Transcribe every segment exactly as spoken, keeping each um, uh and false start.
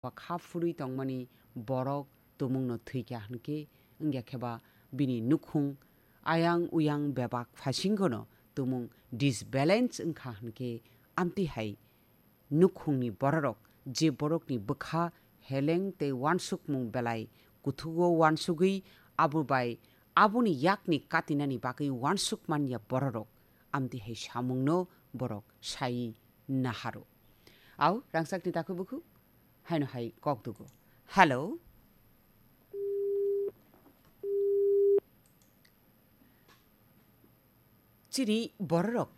ba kha phurwi tongmani borok tumungno thwikha hwnkhe, wngya khe ba bini nukhung ayang uyang bebak phaisinggono tumung disbalance wngkha hwnkhe, amtwi hai nukhungni bororok je borokni bwkha heleng tei uansukmung belai kuthugo uansugwi abo bai aboni yakni katinani bagwi uansuk manya bororok amtwi hai samungno borok sai naharo. Au, rangchakni takhuk bukhuk haino hai kok dugo. Hello. Chini bororok,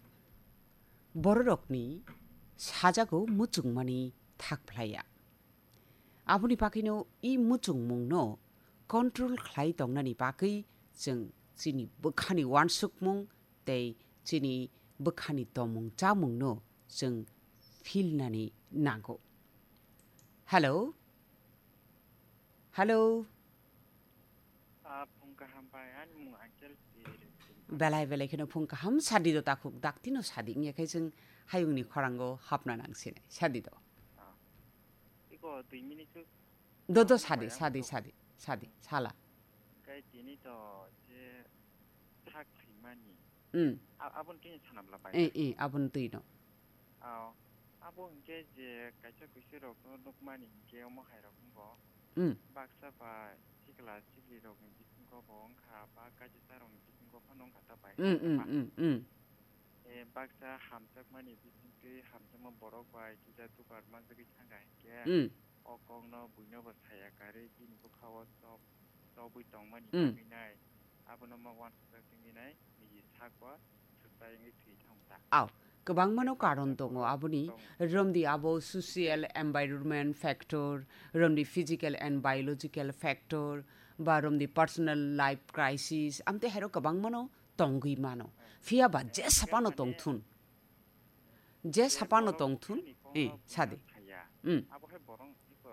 bororokni sajago muchungmani thak phlaiya. Aboni bagwino i muchungmungno control khlai tongnani bagwi chwng chini bwkhani uansukmung tei chini bwkhani tongmung chamungno chwng philnani nango. Hello? Hello? Ah, phung kaham bai, ani mung Angel Siri. Belai belai kheno phung kaham, sadi do takhuk, daktino sadi, wngya khe chwng hayungni khorango hapna nang sinai, sadi do. Ah. Iko dui minute suk Do, do, sadi, sadi, sadi, sadi, sala. Kai tini to je sak thwimani. Hmm. A-, abon kini sanam la bai. Eh, eh, abon twi no. Ao, abo hwnkhe je kaisa kuisirokno nukmani hwnkhe omo hairok wngo. Mm. Baksa ba sikla siklirokni bisingo bo wngkha, ba kaisasarokni bisingo phano wngkha ta bai. Mm, mm, mm, mm. E, baksa hamjakmani bisingtwi hamjakma borok bai kisa dugar manjagwi thangkha hinkhe, mm, o kokno buino bo saya karwi bini bwkhao chop chobwi tongmani, mm, bagwi nai, abono ma uansukjak tongwi nai, niji sakbo swkchai wngwi thwi thango ta. Au, kwbangmano karon tongo aboni, romdi abo social environment factor, romdi physical and biological factor, ba romdi personal life crisis, amtwi hairo kwbangmano tongwi mano. Phiya ba je sapano tongthun. Je sapano tongthun, eh, sadi. Hmm. Abo hai borok iko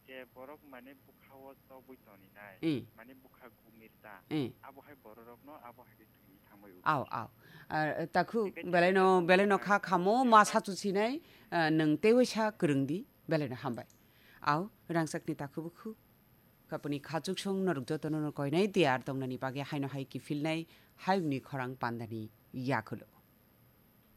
je borok mane bwkhao chobwi toni nai, eh, mane bwkha gumir ta. Eh. Abo hai bororokno abo hai khe thwi thangbai o. Au, au. Ah, takhu, belaino, belaino kha khamo ma sachu sinai, ah, nwng teiwaisa kwrwng di, belaino hambai. Au, rangchakni takhu bukhu. Kapuni khachuksong norok jotono no koinai tiyar tongnani bagwi haino hai kiphilnai hayungni khorang pandani yakulo.